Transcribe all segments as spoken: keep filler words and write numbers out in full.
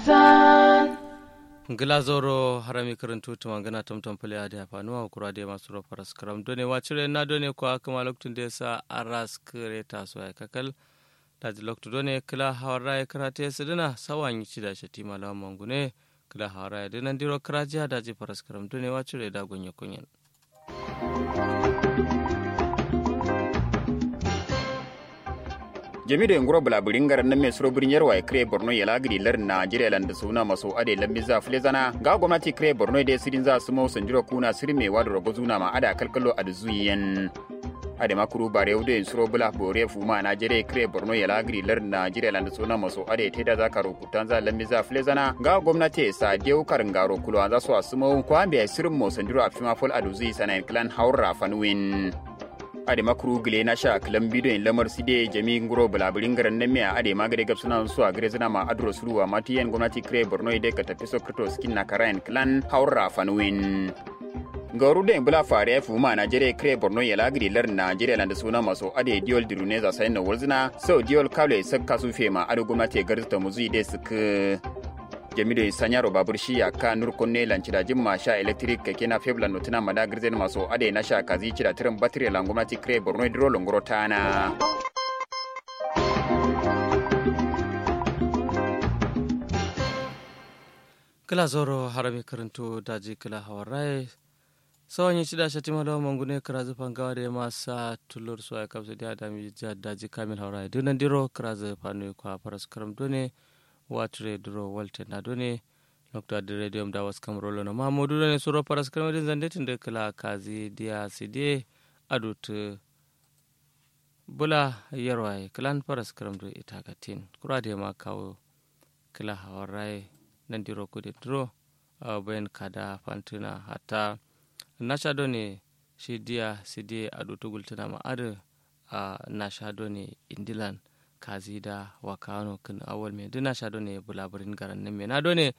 Ngla zauro harami kǝrǝntu tǝmangǝna tamtam fǝle adǝ ya fanuwa kura dai masu ro faras kǝram done wacire na done kwa kǝma loktu nde sa aras kǝre taso ya kakal. Daji loktu done kǝla hawar raye kǝrate sǝdǝna sawa nyi cida shatima lawan mangune. Kǝla hawar raye dǝ nandiro kǝrajiya daji faras kǝram done wacire da gonye konyen. Jami doi nguro bǝla bǝrin ngaran namme suro bǝrin yarwa ye kǝre borno yela gǝdi lardǝ najeriya landa suna maso adai lambi za fǝle zana nga gomnati kǝre borno ye dai sǝdin za sǝmo sandiro kuna sǝrime wado rogo zuna ma ada kalkalo adǝ zuyi yen. Adai ma kuru bare wudo yen suro bǝla bore fuma najeriya kǝre borno yela gǝdi lardǝ najeriya landa suna maso adai taida za karo kutanza lammiza fǝlezana nga gomnati ye sa diyau karngaro kulowanza so asǝmau kwambe yayi sǝrǝmmo sandiro affima fal aduzu isanayen kǝlan haurra fanuwin. Adai ma kuru gǝle nasha kǝlambi doyin lamar side jami nguro bǝlabǝri ngaran namiya adai ma gade gabsǝna so agare zǝna ma aduro suluwa ma tiyen gomnati kǝre borno ye dai katafiso kǝrto sǝkin nakarayen kǝlan haurra fanuwin. Ngauru dai bǝla fare fuma najeriya kǝre borno yela gǝdi lardǝ najeriya landa suna maso adai diyol dirune za sayin no walzǝna sau diyol kalo ye sak kasu fema adǝ gomnati ye garzǝ tamuzu ide sǝkkǝ. Jami doi sanyaro babur shi yakka nur konne lanci dajin ma sha electric keke na febla notuna mada gǝrzen maso adai nasha kazi cida tǝrǝm batire lan gomnati kǝre borno ye duro longoro tana. Kǝla zauro harami kǝrǝntu daji kǝla hawar raye. Sawanyi cida shatima lawan mangune kǝrazu fangawa dai ma sa tullur suwa ye kapsǝ diya dami daji kamil hawar raye dǝ nandiro kǝrazu fanuwi kwa faras kǝram done. Wature duro walte na done. Loktu adǝ radio mda waskam rolo no ma modu done suro faras kǝram dǝ zande tǝndǝ kǝla kazi diya side. Adutǝ bula yarwaye kǝlan faras kǝram dǝ itagatin kura dai ma kawo. Kǝla hawar raye nandiro kudin duro. Bayan kada fantǝna hatta nasha done shi diya side adutǝ gultǝna ma adǝ. Nasha done indilan kazi da wakano kǝn awal me dǝ nasha done bulaburin garannin me na done.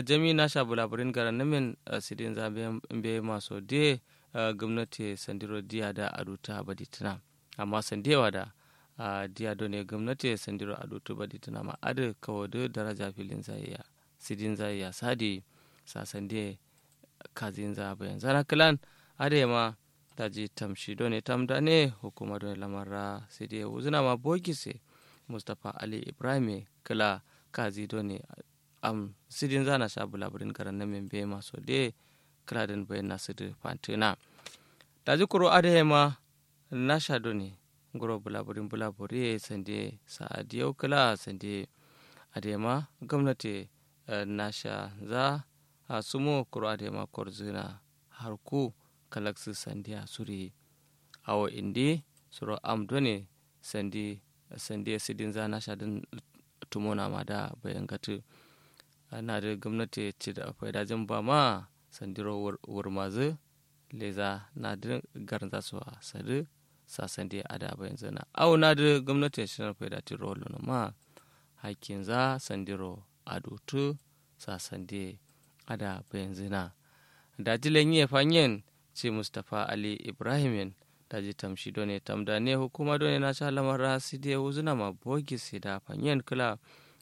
Jami nasha bulaburin garannin men sidinza mbeyi maso diye. Gomnati ye sandiro diya da adutǝ abaditǝna. Amma sandiye wada diya done gomnati ye sandiro adutǝ baditǝna ma adǝ kawo dǝ daraja filinza ye ya sidinza ye ya sadi. Sa sandiye kazinza bayanzana kǝlan adǝ ye ma. Daji tamshi done tamdane hukuma done lamarra sidi ye wuzǝna ma bogis ye. Mustapha ali ibrahim ye kǝla kazi done am sidinza nasha bulaburin garannin men mbeyi maso diye. Kǝla dǝn bayanna sǝdǝ fantǝna. Daji kuru adǝ ye ma nasha done nguro bulaburin bulaburi ye sandiye sa adiyau kǝla sandiye. Adǝ ye ma gomnati ye nasha za. Asumo kuru adǝ ye ma korzǝna harku kalaksǝ sandiya suri. Awo indi suro am done sandi sandi ye sidinza nasha dǝn tumona ma da bayangatǝ. Nadǝ gomnati ye cida faidajin ba ma sandiro wurmazǝ leza nadǝ garnza so a sadǝ. Sa sandi ye ada bayanzǝna awo nadǝ gomnati ye shidan faida tiro wallono ma hakkinza sandiro adutǝ. Sa sandi ye ada bayanzǝna. Daji lenyi ye fanyen ci mustapha ali ibrahim yen daji tamshi done tamdane hukuma done nasha lamar ra sidi ye wuzǝna ma bogis ye da fanyen kǝla.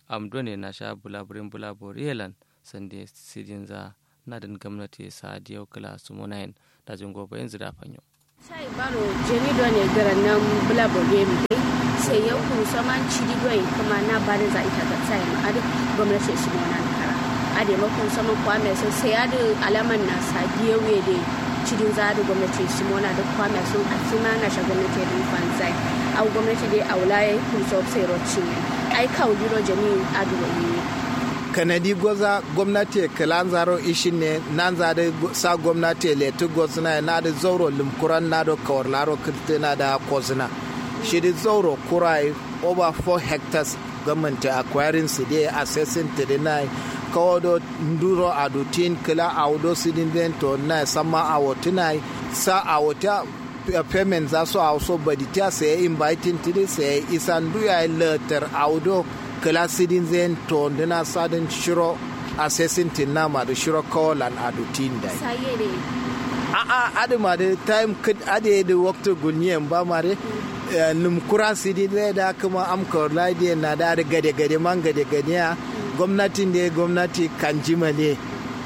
Am done nasha bulaburin bulabori ye lan sandi ye sidinza nadǝn gomnati ye sa diyau kǝla sumona yen. Daji ngo bayanzǝ da fanyo. Sai baro jami done garannin bulabori ye mudai sai yau kuru saman cidi doi kǝma na barin za ita gatsa ye ma adǝ gomnati ye sumona kara. Adǝ ye ma kuru saman kwame so sai adǝ alaman na sa diyau ye dai cidinza adǝ gomnati ye sumona dǝ kwame so asima nasha gomnati ye dǝ fanzai. Au gomnati dai aula ye kuru so sai ro cinye ai kawu diro jami adǝ ro ye. Kanadi goza gomnati ye kǝlanza ro ishin ne nanza dǝ sa gomnati ye letǝ gozǝna ye nadǝ zauro lǝmkuran nado kawar laro kǝrtǝna da kozǝna. Shidǝ zauro kura ye over four hectares gomnati ye acquiring sǝdiye assessing tǝdǝna ye kawo do nduro adutin kǝla awo do sǝdin den todǝna ye samma awo tǝna ye sa awo ta payment za so awo so baditiya saye inviting tǝdǝ saye isan du yayi lǝttar awo do kǝla sǝdin zayen tondǝna sadǝn shiro assessing tǝnna ma dǝ shiro kawo lan adutin dai. A'a adǝ ma dǝ time kǝt adǝ ye dǝ waktu gulnyi yen ba ma dǝ. Nǝm kura sǝdin zaye da kǝma am kawar lai diyen na da dǝ gade gade man gade gade ya. Gomnatin de gomnati kanji male.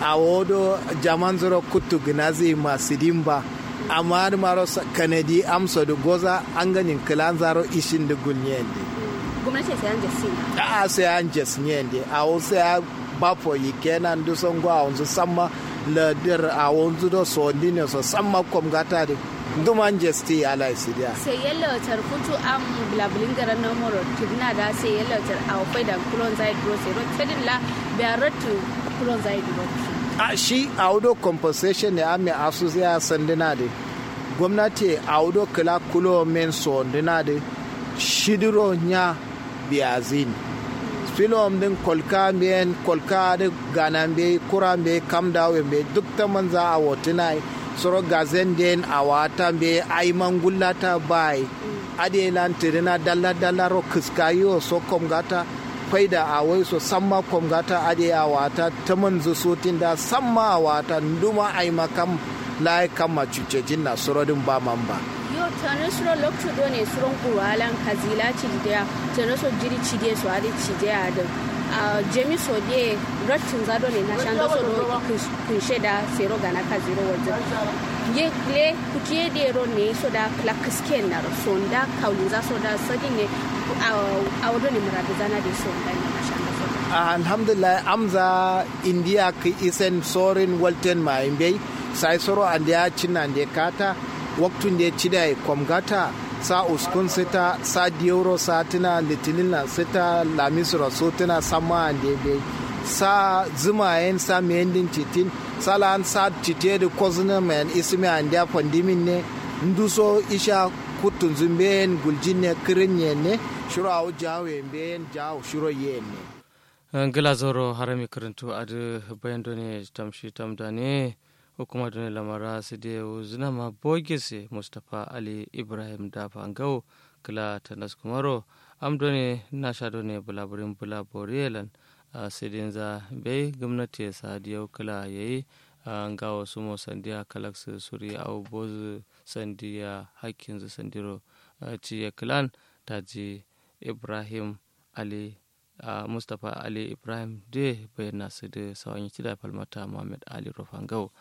Awo do jaman zuro kuttu gnazi ma sidin ba. Amma adǝ maro kanadi amso dǝ goza anganin kǝlanza ro ishin dǝ gulnyen dǝ. Gomnati sai an jessin. A'a sai an jessin yen dǝ awo sai a bafo yikke nan dǝ songo awonzu samma. Ladar awonzu do sondin ne so samma komgata dǝ. Nduman jesti alai sidiya. Sai yalla wacar futu am. Bulabulin garan na moro tirna da sai yalla wacar awo faida kulon zai duro sai ro tadilla. Biya rottu kulon zai duro. A shi awudo compensation ne amme asu sai a sandina de. Gomnati awudo kala kulo men sondina de. Shidiro nya biyazin. Filowom din kolka mbeyen kolka adǝ gana mbeyi kura mbeyi kam dawo mbeyi duk tamanza awo tǝnayi. Suro gazen den awata mbeyi aima ngullata bayi. Adǝ ye lan tǝdǝna dalla dalla ro kǝska yiwo so komgata. Faida awoi so samma komgata adǝ ye awata tamanzǝ sotin da samma awata nduma aima kam. Layi kamma cuccejin na suro dǝn ba man ba. Yo tani suro loktu done suro nguro alan kazila cidi deya. Tani so jiri cide so adǝ cide adǝ. Jami so de. Rattin za done na shando so do. Kunshe da sero gana kaziro walzin. Ye kle kutiye de ro ne so da kla kisken na ro sonda kaulin za so da sadin ne. Awo done muradu zana de sonda ne na shando so. Alhamdulillah amza. Indiya kǝ isen sorin walten ma imbei. Sai soro andeya cinna nde kata. Waktu nde cidaye komgata. Sa uskun sǝta sa diyoro satǝna litinin lan sǝta. Lamisro sutǝna samma ande mbei. Sa zǝma yen sa mendin citin. Sa lan sa cite dǝ kozǝna mayen isǝmi andeya fandimin ne. Nduso isha. Kuttunzǝ mbeyen guljin ne kǝrǝn yen ne. Shiro awo jawo ye mbeyen jawo shiro yen ne. Ngla zoro harami kǝrǝntu adǝ bayan done tamshi tamdane. Hukuma done lamara sǝdiye wuzǝna ma bogese mustapha ali ibrahim dafa ngau. Kǝla tanas kumaro am done nasha done bulaburin bulaboriye lan. Sǝdinza mbeyi gǝmnatiye sadiyo kǝla yeyi. Ngawo sumo sandiya kalaksǝ suri awo bozǝ sandiya hakkinzǝ sandiro. Ciye kǝlan daji ibrahim ali. Mustapha ali ibrahim de bayyana sǝdǝ sawanyi cida falmata muhammad ali rofangau.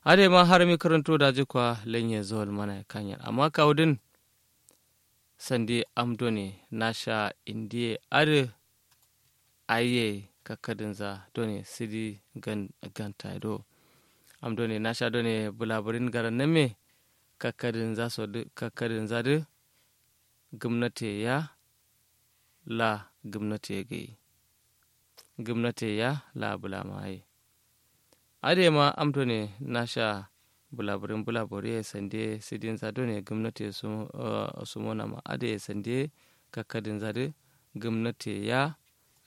Adai ma harmi kǝrǝntu daji kwa lanye zawal mana kanyen amma kawudin. Sandi am done nasha indiye adǝ. Ayiye kakkadǝnza done sǝdi gan ganta do. Am done nasha done bulaburin garannamme. Kakkadǝnza so dǝ kakkadǝnza dǝ. Gǝmnatiye ya. La gǝmnatiye gǝyi. Gǝmnatiye ya la bǝlamaye. Adǝ ye ma am done nasha bulaburin bulaburiye sandiye sǝdinza done gǝmnatiye sumonama adǝ ye sandiye. Kakkadǝnza dǝ gǝmnatiye ya.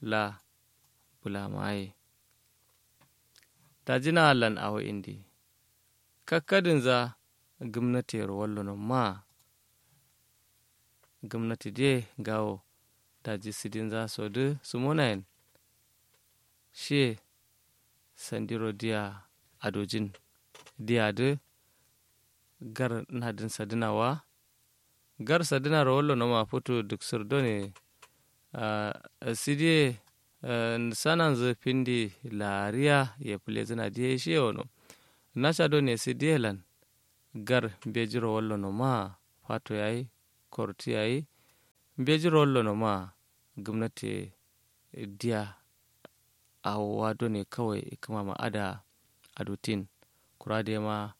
La bǝlamaye. Daji na allan awo indi. Kakkadǝnza gǝmnatiyero wallono ma. Gǝmnati diye ngawo daji sǝdinza sodǝ sumonayen. Shiye sandiro diya adojin. Diyadǝ gar nadǝn sadǝna wa. Gar sadǝnaro wallono ma futu dǝksǝr done. Sǝdiye sananzǝ findi lariya ye fǝlezǝna diye shiye wono. Nasha done sǝdiye lan. Gar mbejiro wallono ma fato yayi. Korti yayi. Mbejiro wallono ma gǝmnatiye diya. Awo wa done kawai kǝmama ada. Adutin kura dema.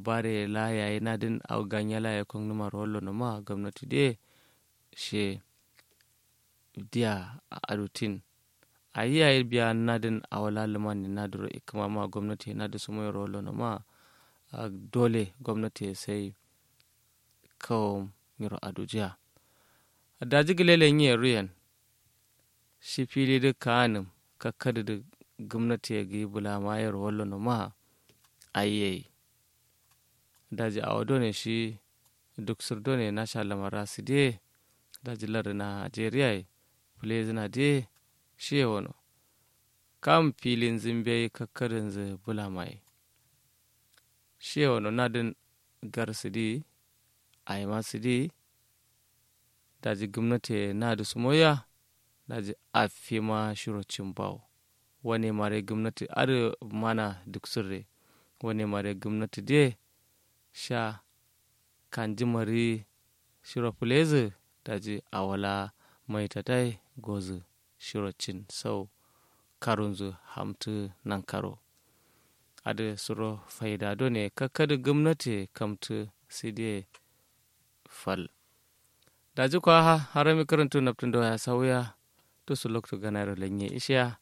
Bare la yayi nadǝn awo ganye la yayi kongnumaro wallono ma gomnati de. She diya. Adutin ayi yayi biya nadǝn awo la lǝmanne nadǝro ikkǝmama gomnati nadǝ sumoyero wallono ma. Dole gomnati ye sai. Kawom nyiro adujiya. Daji gǝle lenyi ye ruyen. Shi filidǝ kaanǝm kakkadǝdǝ gǝmnatiye gǝyi bǝlamayero wallono ma. Ayiye. Daji awo done shi duksǝr done nasha lamara sǝdiye. Daji lardǝ najeriyaye. Fǝlezǝna diye. Shiye wono. Kam filinzǝ mbeyi kakkadǝnzǝ bǝlamaye. Shiye wono nadǝn. Gar sǝdi. Ayima sǝdi. Daji gǝmnatiye nadǝ sumoya. Daji affima shiro cin bawo. Wane mare gumnati adǝ mana duksurre. Wane mare gumnati diye sha kanji mari shiro fǝlezǝ. Daji awo la maitatai gozǝ shiro cin sau karunzǝ hamtǝ nankaro. Adǝ suro faida done kakkadǝ gumnati kamtǝ sidiye fal. Daji kwa harami kǝrǝntu naptǝndo ya sauya. Tusu loktu ganairo lenye ishiya.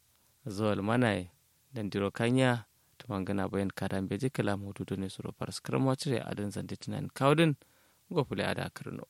Zowal manaye nandiro kanya. Tumangǝna bayan kada mbeji kǝla mudu done suro faraskǝrma cire adǝn zande tǝnanin kawudǝn. Ngo fule ada kǝrǝno.